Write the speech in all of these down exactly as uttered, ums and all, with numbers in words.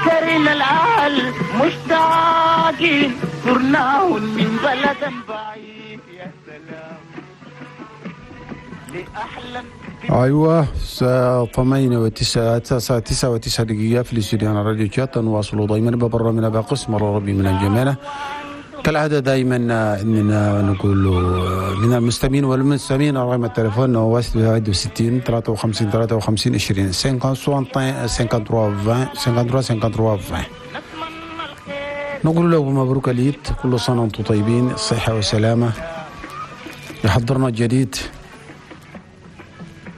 ذكرنا الأهل مشتاقين زرناهم من بلد بعيد. يا سلام لأحلى. ايوه الساعة ثمانية وتسعة تسعة تسعة وتسعة دقيقة في الاستوديو على راديو تشاد. نواصل دائما ببرنامجنا بقسم الربي من الجمالة كالعادة. دائما اننا نقول من المستمعين والمستمعين رقم التليفون هو واحد وستين ثلاثة وخمسين ثلاثة وخمسين عشرين cinquante cinquante-trois عشرين cinquante-trois cinquante-trois عشرين. نقول لكم مبروك العيد، كل سنة وانتم طيبين، صحة وسلامة. يحضرنا الجديد.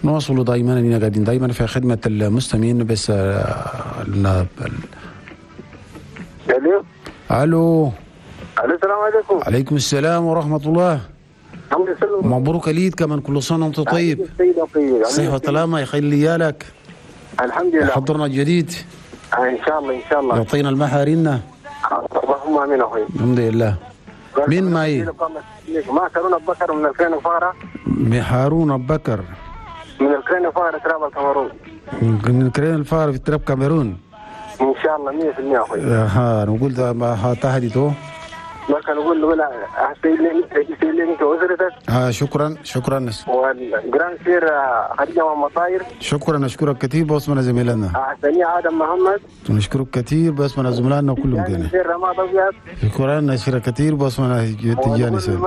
نواصل دائما اننا قاعدين دائما في خدمة المستمعين. بس الو الو السلام عليكم. عليكم السلام ورحمة الله. الحمد لله. مبروك العيد كمان، كل سنة وانت طيب. صحة وسلامة يخلي لك. الحمد لله. حضرنا الجديد ان شاء الله. ان شاء الله يعطينا المحارنا. اللهم امين اخوي. الحمد لله. مين معي؟ معك هارون ابو بكر من الكرين الفارة. هارون ابو بكر من الكرين الفارة تراب الكاميرون. من الكرين الفارة في تراب كاميرون. ان شاء الله مية بالمية اخوي. ها نقول ده ما تهديته. لكن نقول له لا سيد لي انت واسرتك. اه شكرا شكرا. والجراند سير خديجة مطاير. شكرا اشكرك كثير باسمنا زميلنا. ثانية ادم محمد. نشكرك كثير باسمنا زملائنا كلهم كده. سير رماد ابيض. شكرا نشكرك كثير باسمنا تجاني سير.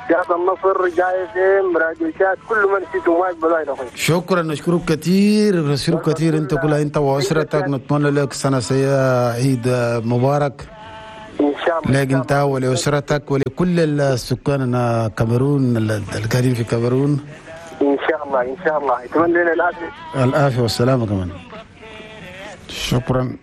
سياد النصر جايزين راديو شات كل من نسيته ما يقبل اخوي. شكرا نشكرك كثير نشكرك كثير انت كلها انت واسرتك. نتمنى لك سنة سيئه عيد مبارك. ان شاء الله لك انت ولاسرتك ولكل السكان الكاميرون القاعدين في الكاميرون. ان شاء الله ان شاء الله اتمنى لنا العافية. العافية والسلامة كمان. شكرا.